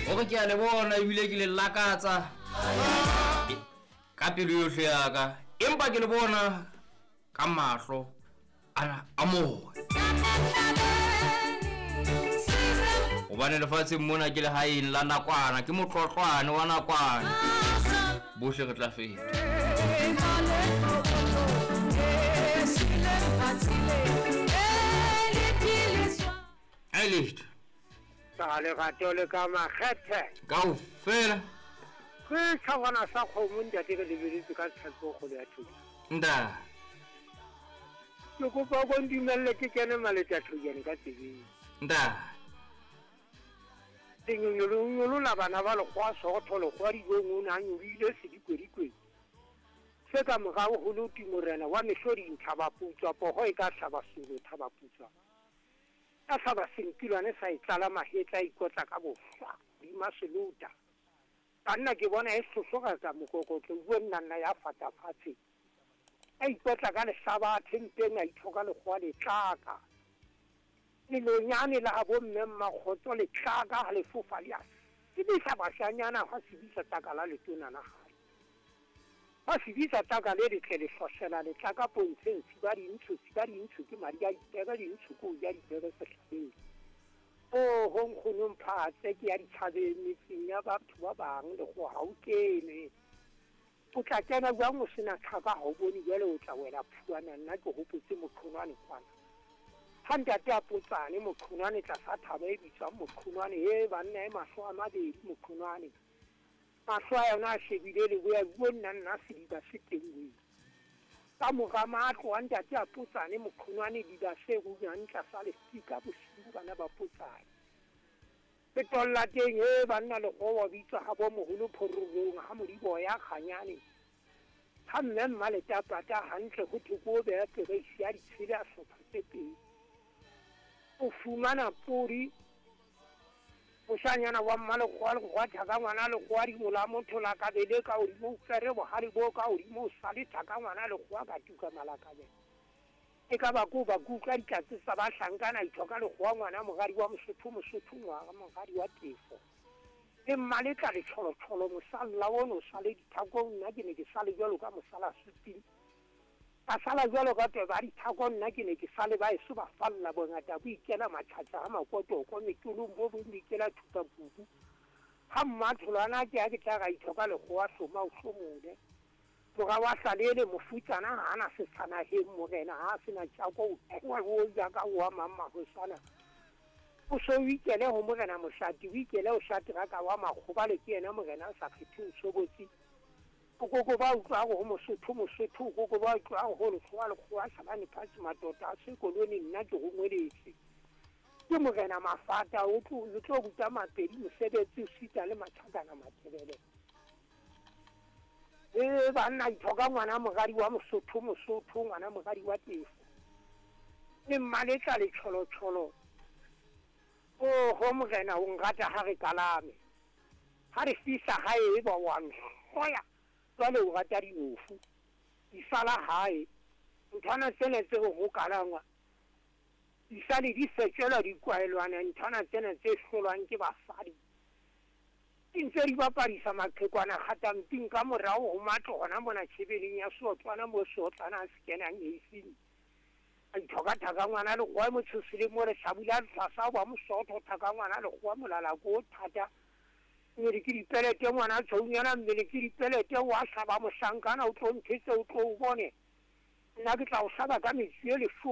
Hore ke a le bona ebile ke le lakatsa ka pelo yohle ya ka, empa ke le bona ka mahlo ana a moya. Hobane lefatsheng mona ke lehaeng la nakwana, ke motlotlwane wa nakwana, bohle re tla feta. Ai letho. Ka lerato le ka makgethe. Kaofela. Ke tshwana sa kgomo ntate re lebeletse ka tshepo kgolo ya thuto. Nda. Ke kopa o ndumelle ke kene maleta thojane ka tsebeng. Nda. Lenyonyolo la bana ba lekgowa sootho lekgowa dijong o ne a nyolohile sedikwedikwe. Se ka morao ho loti morena wa mehloding thabaputswa poho e ka hlaba solo thabaputswa. Ka hlaba senkilwane sa e tlala mahetla a ikotla ka bohlwa hodima selota. Banna ke bona e hlohloreka mokokotlo bua nna nna ya fata fatshe. A ikotla ka lehlabathe mpeng a ithoka lekgowa letlaka. Lelonyane la bo mme mmakgotso letlaka ha le fofa le a sebisa bashanyana ha sebisa taka la letona la hae. Ha sebisa taka le letle le hlohlela letlaka pontsheng siba dintsho siba dintsho ke madi a dipere dintsho ko ja dipere sehlabeng. Oho nkgono mphatse ke ya ditjhabeng metseng ya batho ba bang le go ha o kene. O tla kena jwang o sena tlhaka ha o bone jwale o tla wela phuana nna ke hopotse moqhonwane kwana. Ha ntate a potsane moqhonwane tlasa thaba e bitswang moqhonwane e banna e mahlo a mabedi moqhonwane. Mahlo a yona a shebile leboya buo nna nna sediba se teng weng. Ka mora matlo a ntate a potsane moqhonwane diba se runyang tlasa lefika bosiu bana ba potsane. Petolla teng e banna lekgowa bitswa ha bo moholo phororong ha modibo ya kganyane. Ha mme mmaletapata hantle ho thwe ko beha pereisi ya ditshele a hlopha tse pedi. O fumana podi moshanyana wa mmalekgowa lekgowa thaka ngwana lekgowa dimola motho la kabele ka hodimo o fere bohale bo ka hodimo o sale thaka ngwana lekgowa ka tuka malakabe. E ka ba ko ba kutlwa ditlatse tsa bahlankana ithoka lekgowa ngwana moradi wa Mosotho Mosotho ngwana moradi wa Tefo. Le mmaletla letjholotjholo mosalla ono o sale dithakong nna ke ne ke sale jwalo ka mosala suping. Ka sala jwalo ka tweba dithako nna ke ne ke sale ba eso ba falla bongata bo ikela matjhatjha ha makotoko metolong bo bong bo ikela thupa kubu. Ha mmatholwana ke ha ke tla ra ithoka lekgowa hloma o hlomole. Mora wa hlalele mofutsana ha ana setshanaheng morena ha sena tjako o tloha o ja ka wa mang mahosana. O so o ikele ho morena Moshati o ikele o shatraka wa makgobale ke yena morena a sa kgetheng tshobotsi. Okoko ba utlwa ho Mosotho Mosotho okoko ba utlwa ho lekgowa lekgowa hlabane phatsi matota a sekolone nna ke rongweletse. Ke morena Mafata o tlo ruta Mapedi mosebetsi o sita le Matjhakana Matebele. E banna ithoka ngwana moradi wa Mosotho Mosotho ngwana moradi wa Tefo. Le mmaletla letjholotjholo. Oho morena o nrata ha re kalame. Ha re fihla hae e ba wa nhloya. Jwale o rata dinofu. Di sala hae. Nthwana tsena tse ho kalangwa. Di sale di fetjelwa di kwaelwana nthwana tsena tse hlolwang ke basadi. Di ntse di bapadisa maqhekwana kgatamping ka morao ho matlo hona mona tjhebeleng ya seotlwana mo seotlwana a se kenang eising. A ithoka thaka ngwana lekgowa motshosile mo re hlabula tlasa wa Mosotho thaka ngwana lekgowa molala ko thata. Mmele ke dipelete ngwana tshounyana mmele ke dipelete wa hlaba mohlankana o tlo nthetse o tlo o bone. Nna ke tla o hlaba ka metsi e leshome.